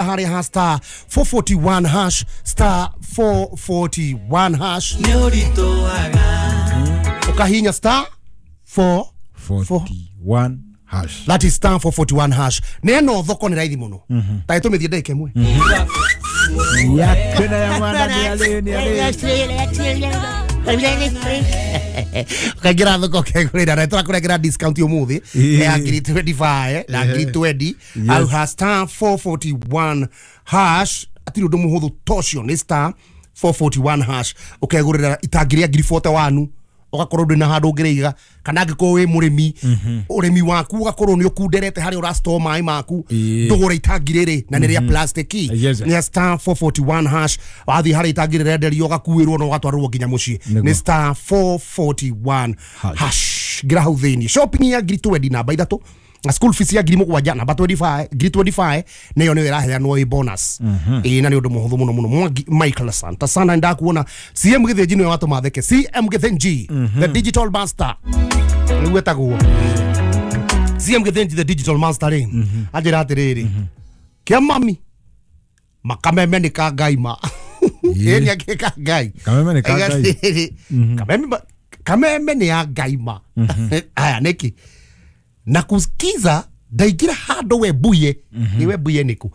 Harĩa ha star 441 hash, star 441 hash. Ukahinya star 4 41 hash. That is star 441 hash. Neno thoko nĩ raithi mũno. Ta ĩtũmĩthiĩ ndagĩka ĩmwe. Ya tena ya mwana ni ale ni ale. Ukaingĩra thoko ũkegũrĩra na tũrakũrengera discount ũmũthĩ ya ngiri 25 na ngiri 20 au ha star 441 hash. Atirĩ ũndũ mũhũthũ tocio, nĩ star 441 hash ũkegũrĩra itangi rĩa ngiri 41, ũgakorwo ndwĩ na handũ ũngĩrĩiga, kana angĩkorwo wĩ mũrĩmi, ũrĩmi waku ũgakorwo nĩ ũkunderete harĩa ũrastore maĩ maku, ndũgũre itangi rĩrĩ na nĩ rĩa plastic. Nĩ star 441 hash, wathiĩ harĩa itangi rĩrenderio ũgakuĩrwo na ũgatwarĩrwo nginya mũciĩ. Nĩ star 441 hash. Ngira hau thĩinĩ shopping ya ngiri 20 namba 3 na school fees ya ngiri 7 namba 25, ngiri 25 nĩyo nĩyo ĩraheanwo ĩ bonus. Ĩĩ, na nĩ ũndũ mũhũthũ mũno mũno. Mwangi Michael, asante sana, ndakuona. CM Gĩthĩnji nĩwe watũma theke. CM Gĩthĩnji the digital master, nĩguo etagwo CM Gĩthĩnji the digital master rĩ, anjĩra atĩrĩrĩ, kĩa mami makameme nĩ ka Ngai ma. Ĩĩ, nĩ akĩ ka Ngai. Kameme nĩ ka Ngai. Kameme kameme nĩ ya Ngai ma. Aya nĩkĩ na kusikiza ndaingĩra handũ Webuye, nĩ Webuye nĩkũ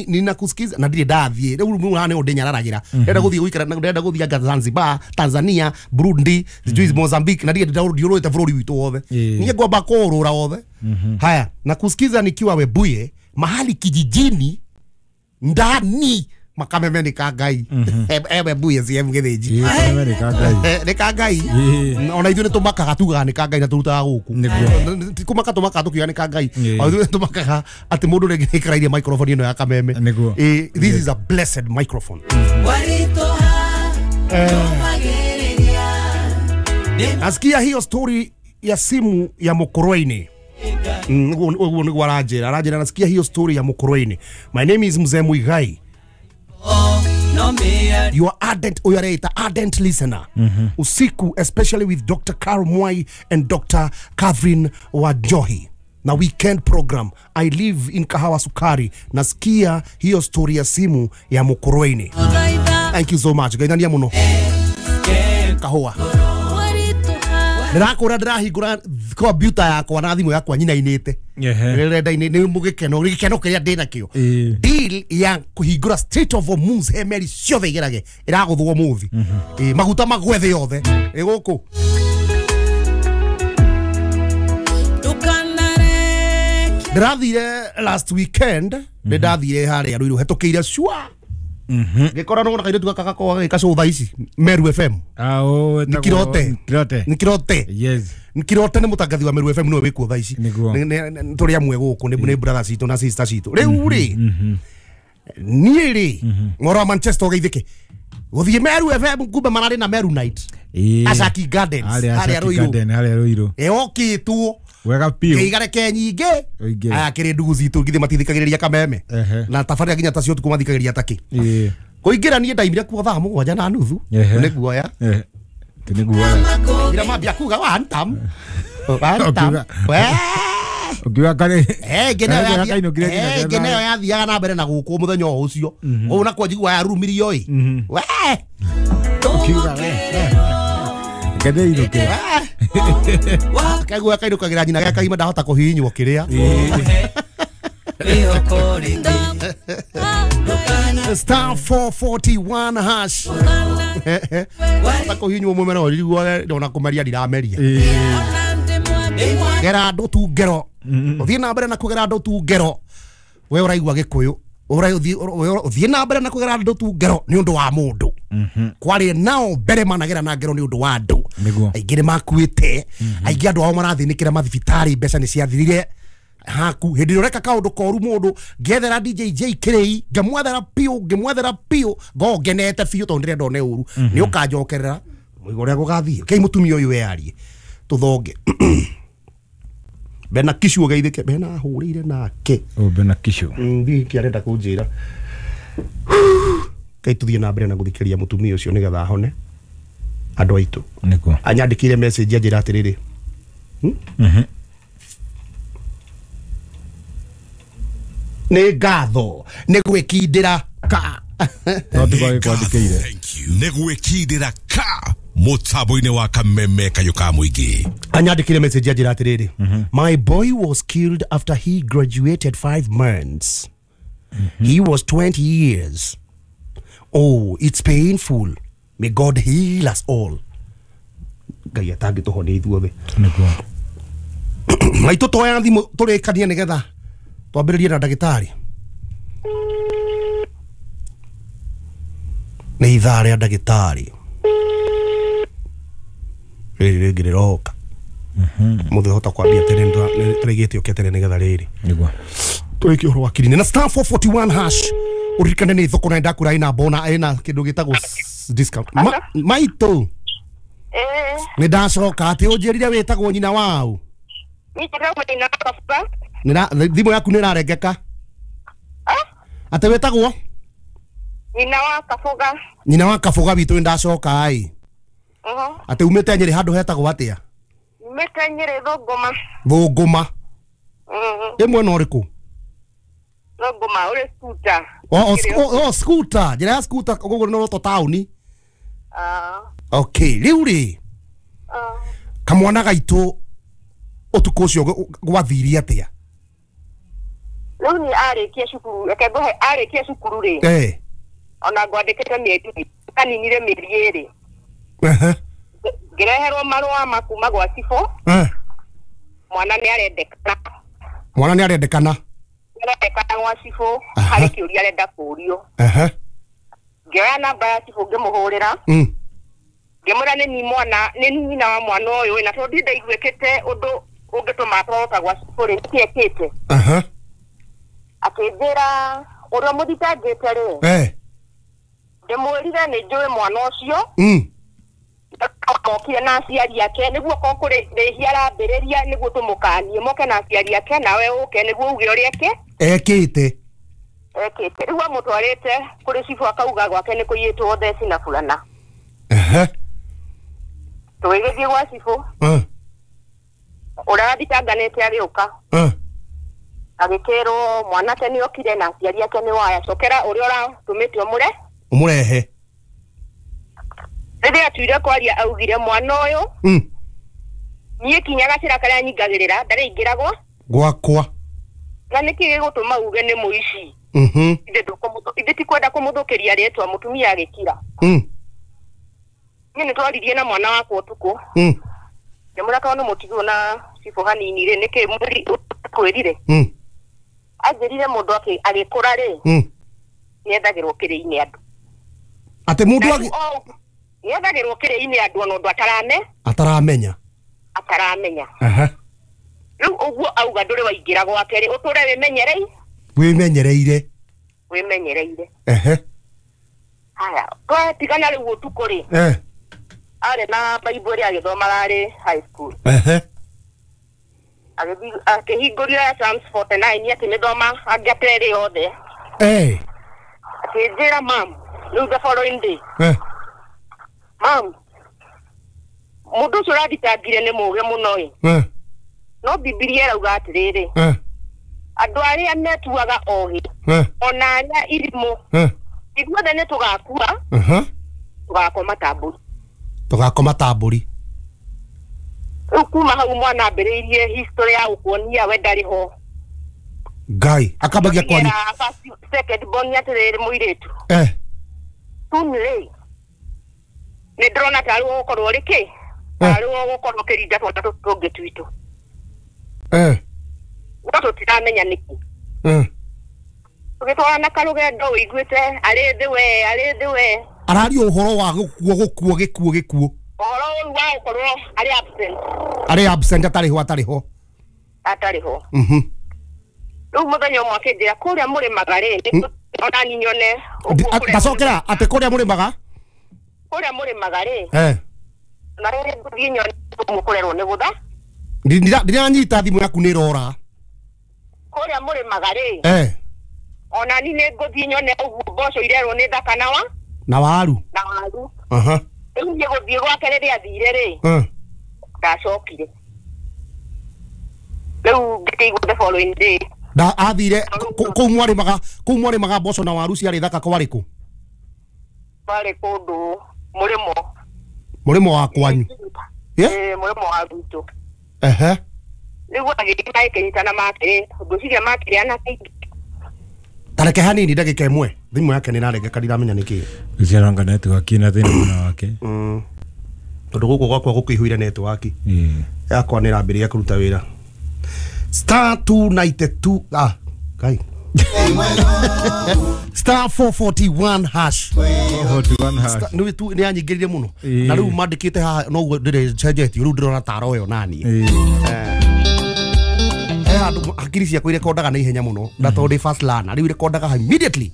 ninakusikiza na ndirĩ ndathiĩ rĩu. Rĩu haha nĩho ndĩnyararagĩra, ndĩrenda gũthiĩ gũikara, ndĩrenda gũthiĩ anga Zanzibar, Tanzania, Burundi, sijui Mozambique, na ndirĩ ndiũrũrĩte bũrũri witũ wothe. Niĩ ngwamba kũũrũra wothe. Haya, na kusikiza nikiwa Webuye mahali kijijini ndani, makameme nĩ ka Ngai. Webuye CM Gĩthĩnji. Kameme nĩ ka Ngai. Nĩ ka Ngai. Ona ithuĩ nĩ tũmakaga tugaga nĩ ka Ngai na tũrutaga gũkũ. Ti kũmaka tũmakaga tũkiuga nĩ ka Ngai. Ona ithuĩ nĩ tũmakaga atĩ mũndũ rĩngĩ nĩ aikarairie microphone ĩno ya kameme. This is a blessed microphone. Nasikia hiyo story ya simu ya Mukurweini. Ũguo nĩguo aranjĩra, aranjĩra nasikia hiyo story ya Mukurweini. My name is Mzee Muigai, your ardent, ũyũ areita ardent listener usiku, especially with Dr. Carol Mwai and Dr. Catherine Wajohi na weekend program. I live in Kahawa Sukari. Nasikia hiyo story ya simu ya Mukurweini. Thank you so much, ngaithania mũno. Kahũa ndĩrakũra, ndĩrahingũra kompiuta yakwa na thimũ yakwa nyinainĩte rĩrenda-inĩ nĩ mũgĩkeno, gĩkeno kĩrĩa ndĩnakĩo. Deal ya kũhingũra Strait of Hormuz he meri ciothe igerage ĩragũthwo mũthĩ. Maguta magwe thĩ yothe ĩ gũkũ. Ndĩrathire last weekend, nĩ ndathire harĩa Ruiru hetũkĩire cua ngĩkora nona kairĩtu gaka gakoragwo gagĩka thaa ici Meru FM. Nĩ Kirote. Kirote. Nĩ Kirote. Yes. Nĩ Kirote, nĩ mũtangathi wa Meru FM, nĩwe wĩkuo thaa ici. Tũrĩ amwe gũkũ, nĩ brother citũ na sister citũ. Rĩu rĩ, niĩ rĩ, ng'oro wa Manchester ũgeithĩke gũthiĩ Meru FM, kumbe mararĩ na Meru Night Ashaki Gardens harĩa Ruiru. Harĩa Ruiru. Ĩokĩtwo wega piũ. Kĩigareke nyingĩ. Ũingĩre. Aya kĩrĩ ndugu citũ githĩ matithikagĩrĩria kameme na tabarĩra nginya tacio ũtukũ mathikagĩrĩria takĩ kũingĩra. Niĩ ndaimire kuo thaa 7:30. Nĩ guoya. Ti nĩ guoya. Ngira mambia kuga one tam one tam. Ũkiuga karĩ ĩngĩ nayo yathiaga na mbere na gũkũ mũthenya o ũcio ũũ, nakuo njiguaga yarumirio ĩ we. Ũkiuga we ngene inũke. Kaigua kainũkagĩra nyina gĩa kaima, ndahota kũhihinywo kĩrĩa. Star 441 hash, hota kũhihinywo mũmera ũriguo ona kũmeria ndirameria. Gera andũ tu ngero, ũthiĩ na mbere na kũgera andũ tu ngero. We ũraigua Gĩkũyũ, ũthiĩ na mbere na kũgera andũ tu ngero nĩ ũndũ wa mũndũ. Kwarĩ nao mbere managera na ngero nĩ ũndũ wa andũ. Aingĩ nĩ makuĩte, aingĩ andũ ao marathĩnĩkĩra mathibitarĩ, mbeca nĩ ciathirire haku. Hĩndĩ ĩrĩa ũreka kaũndũ koru mũndũ, ngethera DJ J kĩrĩi, ngĩmwethera piũ, ngĩmwethera piũ, ngoo ngenete biũ tondũ ndĩrenda one ũru nĩ ũkanjokerera mũigo ũrĩa gũgathiĩ. Kei mũtumia ũyũ wearie tũthonge Bena Kishu ũgeithĩke. Bena ahũrĩire nake. Bena Kishu. Ndiĩ kĩ arenda kũnjĩra. Kai tũthiĩ na mbere na gũthikĩrĩria mũtumia ũcio nĩgetha ahone andũ aitũ. Nĩguo. Anyandĩkĩire message anjĩra atĩrĩrĩ, Nĩ ngatho nĩ gwĩkindĩra ka. No tũgagĩkwandĩkĩire. Thank you. Nĩ gwĩkindĩra ka mũtambo-inĩ wa kameme kayũ ka mũingĩ. Anyandĩkire message anjĩra atĩrĩrĩ, my boy was killed after he graduated 5 months. He was 20 years. Oh, it's painful. May God heal us all. Ngai atangĩtũhonia ithuothe. Nĩguo. Maitũ twoya thimũ tũrĩkanie nĩgetha twambĩrĩrie na ndagĩtarĩ. Nĩ ithaa rĩa ndagĩtarĩ rĩrĩ rĩngĩ rĩroka. Mũthĩ hota kwambia tene, nĩtũrĩgĩte ũke tene nĩgetha rĩrĩ Nĩguo. tũrĩkie ũhoro wa kirini na star 441 hash. Ũririkane nĩ thoko na ndakura ĩna bona ĩna kĩndũ gĩtagwo discount. Maitũ, nĩ ndacoka atĩ ũnjĩrire wĩtagwo nyina wau. Thimũ yaku nĩ ĩrarengeka. Atĩ wĩtagwo Nyina wa Kabuga. Nyina wa Kabuga witũ, nĩ ndacoka ĩ. Atĩ umĩte Nyĩrĩ handũ hetagwo atĩa? Umĩte Nyĩrĩ Thũngũma. Thũngũma. Ĩ mwena ũrĩkũ? Thũngũma ũrĩ scooter. O scooter, njĩra ya scooter koguo nĩ roto taũni. Okay, rĩu rĩ kamwana gaitũ ũtukũ ũcio gwathirie atĩa? Rĩu ni arĩkia cukuru, reke ngũhe arĩkia cukuru rĩ. Ona ngwandĩkĩte mĩeri, aninire mĩeri ĩrĩ. Ngĩreherwo marũa ma kuma gwa cibũ. Mwana nĩ arendekana. Mwana nĩ arendekana. Arendekana gwa cibũ, harĩ kĩũria arenda kũũrio. Ngĩoya namba ya cibũ ngĩmũhũrĩra. Ngĩmwĩra nĩ ni mwana, nĩ nyina wa mwana ũyũ, na tondũ ndaiguĩkĩte ũndũ ũngĩtũma atwarwo ta gwa cibũ rĩ, nĩkĩ ekĩte? Akĩnjĩra ũrĩa mũthitangĩte rĩ. Ndĩmwĩrire nĩ njũĩ mwana ũcio. Okire na aciari ake nĩguo korwo kũrĩ rĩhia arambĩrĩria nĩguo tũmũkanie moke na aciari ake nawe ũke nĩguo uge ũrĩa ekĩte. Ekĩte. Rĩu amũtwarĩte kũrĩ cibũ akauga gwake nĩ kũiyĩtwo theci na burana. Tũgĩgĩthiĩ gwa cibũ. Ũrĩa wathitanganĩte agĩũka. Agĩkĩrwo mwanake nĩ okire na aciari ake nĩ waya, cokera ũrĩa ũratũmĩte ũmũre ũmũrehe. Rĩrĩa atuire kwaria augire mwana ũyũ niĩ kinya gacĩra karĩa nyingagĩrĩra ndarĩ ingĩragwo gwakwa. Na nĩkĩ gĩgũtũma uge nĩ mũici? Ithe tikwenda kũmũthũkĩria rĩtwa, mũtumia agĩkira. Niĩ nĩtwaririe na mwana wakwa ũtukũ. Ngĩmwĩra tondũ nĩ mũtigwo na cibũ hanini rĩ, nĩkĩ kwĩrire? Anjĩrire mũndũ agĩkũra rĩ, nĩethagĩrwo kĩrĩ-inĩ andũ. Atĩ mũndũ nĩethagĩrwo kĩrĩ-inĩ andũ ona ũndũ ataramenya. Ataramenya. Rĩu ũguo auga ndũrĩ waingĩra gwake rĩ, ũtũre wĩmenyereire. Wĩmenyereire. Wĩmenyereire. Haya, twatigana rĩu ũtukũ rĩ. Arĩ na Bible ĩrĩa agĩthomaga arĩ high school. Akĩhingũria Psalms 49 akĩmĩthoma angĩate ĩrĩ yothe. Akĩnjĩra mam, rĩu the following day. Mam, mũndũ ũcio ũrathitangire nĩ mũũgĩ mũno ĩ. No Bibilia ĩrauga atĩrĩrĩ, andũ arĩa metuaga ogĩ ona arĩa irimũ, ithuothe nĩ tũgakua, tũgakoma ta mbũri. Tũgakoma ta mbũri. Rĩu kuma hau mwana ambĩrĩirie history ya gũkuonia we ndarĩ ho. Ngai akambagia kwaria. Second born atĩrĩrĩ mũirĩtu. Tun rĩ, nĩ ndĩrona tarĩ ũgũkorwo ũrĩ kĩ? Tarĩ ũgũkorwo ũkĩrinda twana tũtũ tũngĩ twitũ. No tũtiramenya nĩkĩ. Tũgĩtwarana karũgendo ũiguĩte arĩ thĩ we, arĩ thĩ we. Araria ũhoro wa gũkuo gũkuo gĩkuo gĩkuo. Ũhoro ũyũ wa gũkorwo arĩ absent. Arĩ absent atarĩ ho atarĩ ho. Atarĩ ho. Rĩu mũthenya ũmwe akĩnjĩra kũrĩa mũrĩmaga rĩ, ona niĩ nyone. Ndacokera atĩ kũrĩa mũrĩmaga? Kũrĩa mũrĩmaga rĩ. Na rĩrĩ ngũthiĩ nyone mũkũrerwo nĩ gũtha. Ndiranyita thimũ yaku nĩ ĩrora. Kũrĩa mũrĩmaga rĩ. Ona niĩ nĩ ngũthiĩ nyone ũguo mboco irerwo nĩ thaka na wa? Na waru. Na waru. Rĩu niĩ gũthiĩ gwake rĩrĩa athire rĩ. Ndacokire. Rĩu ngĩkĩigua the following day. Da athire kũu mwarĩmaga mboco na waru ciarĩ thaka kwarĩ kũ? Kwarĩ kũndũ mũrĩmo. Mũrĩmo wa kwanyu? Ĩĩ, mũrĩmo wa gwitũ. Ehe. Rĩu agĩthiĩ makĩnyitana makĩrĩ, ngwĩciria makĩrĩ anake. Tareke hanini ndagĩka ĩmwe. Thimũ yake nĩraregeka ndiramenya nĩkĩ. Gũciaranga network ina thĩna mwena wake. Tondũ gũkũ gwakwa gũkĩihũire network. Yakwa nĩrambĩrĩria kũruta wĩra. Star 292 kai. Star 441 hash. 441 hash. Nĩ tu nĩ anyingĩrire mũno. Na rĩu mandĩkĩte haha noguo ndĩrecenjetie rĩu ndĩrona taro ĩyo nani. Andũ hakiri ciakwa irekondaga na ihenya mũno na tondũ ndĩ fast learner rĩu irekondaga immediately.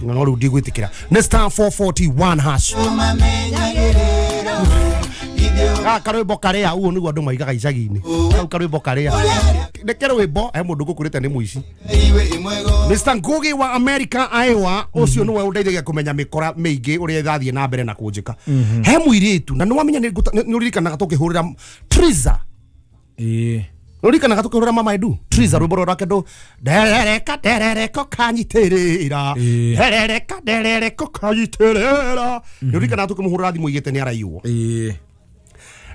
No rĩu ndigwĩtĩkĩra. Nĩ star 441 hash. Karwĩmbo karĩa ũguo nĩguo andũ maigaga icagi-inĩ. Kau karwĩmbo karĩa. Nĩ karwĩmbo he mũndũ ngũkũrĩte nĩ mũici. Mr. Ngugi wa America Iowa ũcio nĩwe ũndeithagia kũmenya mĩkora mĩingĩ ũrĩa ĩrathiĩ na mbere na kũnjĩka. He mũirĩtu na nĩwamenya nĩ ũririkanaga tũkĩhũrĩra Triza. Ũririkanaga tũkĩhũrĩra Mama Edu Triza rwĩmbo rwake ndũ nderereka nderereko kanyitĩrĩra nderereka nderereko kanyitĩrĩra. Nĩ ũririkanaga tũkĩmũhũrĩra thimũ igĩte nĩ araiywo.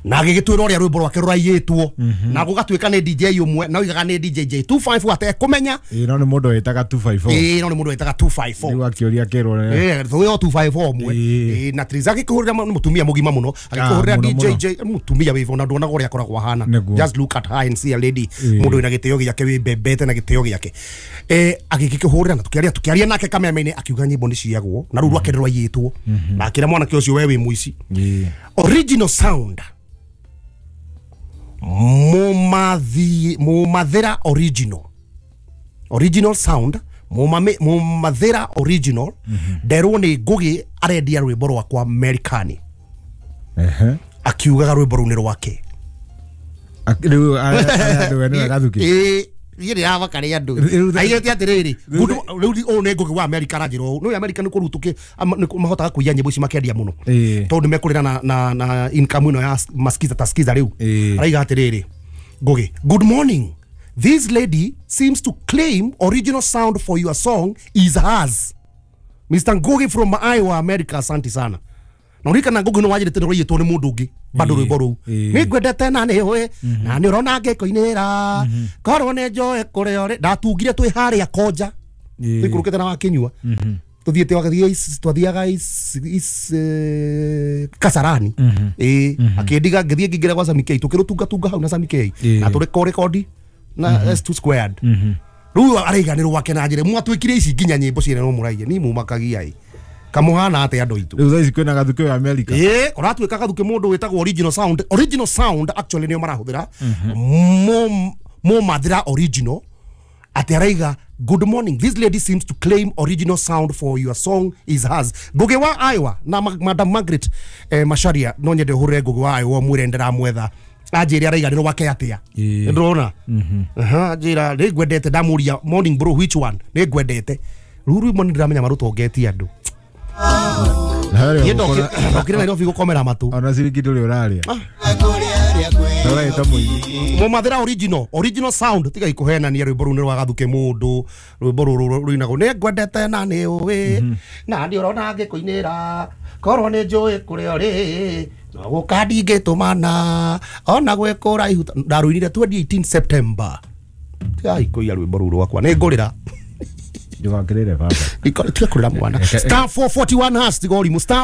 Na agĩgĩtwĩra ũrĩa rwĩmbo rwake rũraiyĩtwo na gũgatuĩka nĩ DJ ũmwe na oigaga nĩ DJ J254 atekũmenya. No nĩ mũndũ wĩtaga 254. No nĩ mũndũ wĩtaga 254. Rĩu akĩũria kĩrwo. Thũyo 254 ũmwe. Na Triza agĩkĩhũrĩra nĩ mũtumia mũgima mũno agĩkĩhũrĩra DJ J mũtumia wĩvo na nduonaga ũrĩa akoragwo ahana. Just look at her and see a lady mũndũ wĩna gĩtĩo gĩake wĩmbembete na gĩtĩo gĩake. Agĩgĩkĩhũrĩra na tũkĩaria nake kameme-inĩ akiuga nyĩmbo nĩ ciagwo na rĩu rwake rwaiyĩtwo na akĩra mwanake ũcio we wĩ mũici. Original sound Mumathira original. Original sound Mumathira original. Nderwo nĩ Ngugi arendia rwĩmbo rwakwa Amerikani. Akiugaga rwĩmbo rũu nĩ rwake. Rĩu andũ ene Gathuki. Niĩ ndĩramaka nĩ andũ. Aigĩte atĩrĩrĩ, rĩu ũyũ nĩ Ngugi wa America aranjĩra ũũ. Nĩ America nĩ kũrĩu mahotaga kũiya nyĩmbo ici makendia mũno. Tondũ nĩmekũrĩra na income ĩno ya maskiza taskiza rĩu. Araiga atĩrĩrĩ, Ngugi, good morning. This lady seems to claim original sound for your song is hers. Mr. Ngugi from Iowa, America, asante sana. Na ũririkana Ngugi nĩ wanjĩrĩte nĩ rwaiyĩtwo nĩ mũndũ ũngĩ bado rwĩmbo rũu. Nĩ ngwendete na nĩ ũĩ na nĩ ũrona ngĩkũinĩra korwo nĩ njoe kũrĩa ũrĩ. Ndatungire twĩ harĩa Konja tũikũrũkĩte na Wakinyua tũthiĩte twathiaga Kasarani. Akĩndiga ngĩthiĩ ngĩingĩra gwa Sami K tũkĩrũtungatunga hau na Sami K na tũrekondi na S2 squared. Rĩu araiga nĩ rwake na njĩra mwatwĩkire ici nginya nyĩmbo ciene no mũraiye ni mumakagia ĩ kamuhana atia andũ aitũ. Rĩu thaa ici kwĩna Gathuki wa America. Ũratuĩka Gathuki mũndũ wĩtagwo original sound. Original sound actually nĩo marahũthĩra Mumathira original. Atĩ araiga good morning, this lady seems to claim original sound for your song is hers. Ngugi wa Iowa na Madam Margaret Macharia no nyende ũhũrĩre Ngugi wa Iowa mwĩre ndĩramwetha anjĩre araiga nĩ rwake atĩa. Nĩndĩrona anjĩra nĩ ngwendete ndamũria morning bro which one nĩ ngwendete. Rĩu rwĩmbo nĩ ndĩramenya marũtongetie andũ. Ndokire Nairobi gũkomera matũ. Ona ciringi ndũrĩ ũrarĩa. Mumathira original, original sound tiga ikuhenania rwĩmbo rũu nĩ rwa Gathuki mũndũ rwĩmbo rũrũ rũinagwo nĩ ngwendete na nĩ ũĩ na nĩ ũrona ngĩkũinĩra korwo nĩ njũĩ kũrĩa ũrĩ no gũka ndingĩtũmana ona gwĩ kũraihu. Ndarũinire 2018 September. Tiga ikũiya rwĩmbo rũu rwakwa nĩ ngũrĩra. Ndũgakĩrĩre baba. Tiga kũrĩra mwana. Star 441 hash tiga ũrimũ. Star